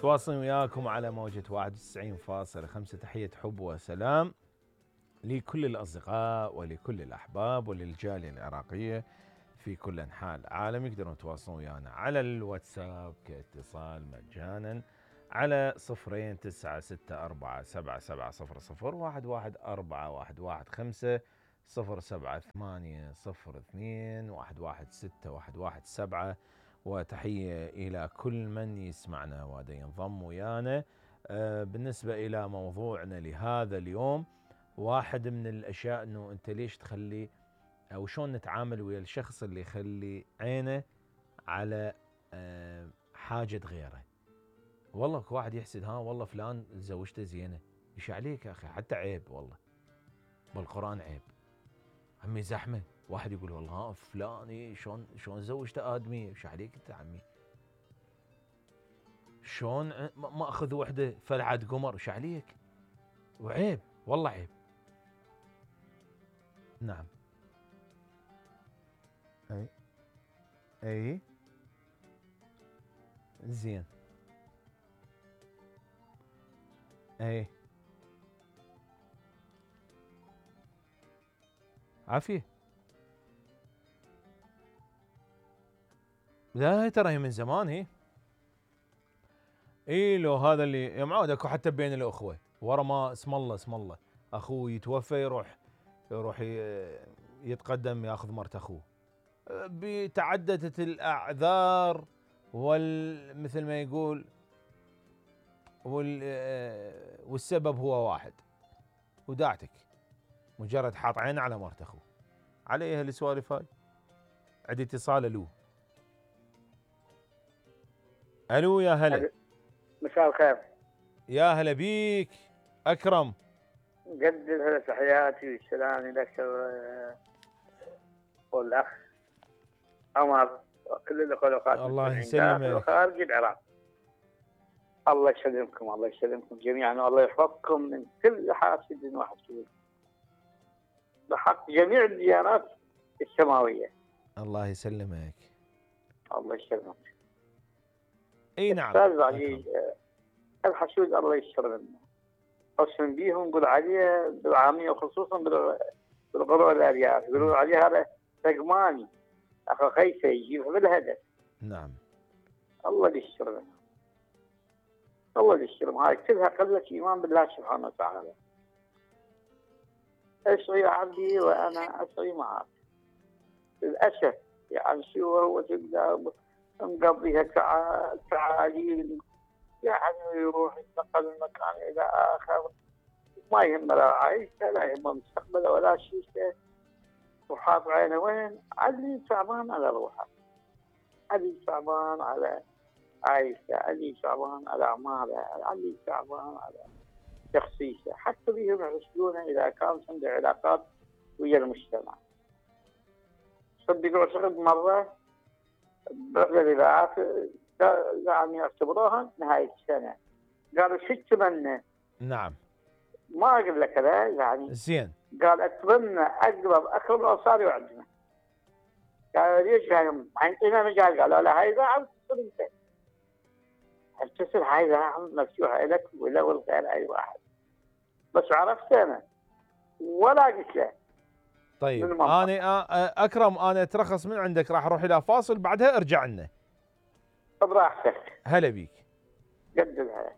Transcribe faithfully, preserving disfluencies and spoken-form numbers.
تواصل وياكم على موجة واحد وتسعين فاصلة خمسة. تحية حب وسلام لكل الأصدقاء ولكل الأحباب وللجالية العراقية في كل أنحاء العالم. يقدرون يتواصلون ويانا على الواتساب كاتصال مجانا على صفرين تسعة ستة أربعة سبعة سبعة صفر صفر واحد واحد أربعة واحد واحد خمسة صفر سبعة ثمانية صفر اثنين واحد واحد ستة واحد واحد سبعة. وتحية إلى كل من يسمعنا وهذا ينضم ويانا. آه بالنسبة إلى موضوعنا لهذا اليوم، واحد من الأشياء أنه أنت ليش تخلي أو شلون نتعامل ويا الشخص اللي يخلي عينه على آه حاجة غيره. والله واحد يحسد، ها والله فلان زوجته زينة، ايش عليك يا أخي؟ حتى عيب والله، بالقرآن عيب. عمي زحمة، واحد يقول والله ها فلان شلون شلون زوجته آدمية، ايش عليك انت عمي؟ شلون ما اخذ وحده فلعت قمر، ايش عليك؟ وعيب والله عيب. نعم. اي اي زين. اي عافية. لا ترى هي من زمان هي. اي لو هذا اللي يا معود اكو حتى بين الاخوه ورا ما اسم الله اسم الله اخوه يتوفى يروح يروح يتقدم ياخذ مرت اخوه. بتعددت الاعذار وال مثل ما يقول وال والسبب هو واحد، وداعتك مجرد حاط عينه على مرت اخوه. عليها السوالف هاي. عندي اتصال. الو الو يا هلا. مساء الخير. يا هلا بيك اكرم. قدم تحياتي والسلام لك والاخ عمر وكل الاخوات الله يسلمك خارج العراق. الله يسلمكم الله يسلمكم جميعا والله يحفظكم من كل حاسد وحسود بحق جميع الديانات السماويه. الله يسلمك. الله يسلمك. اي نعم. استاذ عزيز، الحسود الله يستر منه. قسم بيهم نقول عليه بالعاميه وخصوصا بالقروء الارياف يقولون عليه هذا سقماني اخو خيسه يجيب بالهدف. نعم. الله يستر منه. الله يستر. هاي كلها قله ايمان بالله سبحانه وتعالى. اسعي عبدي وانا اسعي معك. للاسف يعني شو هو تبدا مقضيها تعاليل يعني يروح يتنقل من مكان الى اخر، ما يهمه لا عايشته لا يهمه مستقبله ولا شيء، وحاط عينه وين؟ علي تعبان على روحه، علي تعبان على عايشته، علي تعبان على اعماله، علي تعبان على شخصيته، حتى بهم يحسدونه اذا كانت عنده علاقات ويا المجتمع. صدقوا صدق مره برحله الاذاعات يعني يعتبروها نهايه السنه، قالوا شو تتمنى؟ نعم. ما اقول لك لا يعني زين. قال اتمنى اقرب اقرب الاوصال يعجبنا. قالوا ليش يعني عندنا مجال؟ قالوا لا هاي اذاعه تصير انت. هل تصير هاي اذاعه مفتوحه لك ولا والغير اي واحد؟ بس عرفت انا ولا قلت له. طيب انا اكرم انا اترخص من عندك، راح اروح الى فاصل بعدها ارجع لنا. براحتك. هلا بيك. قد الهلا.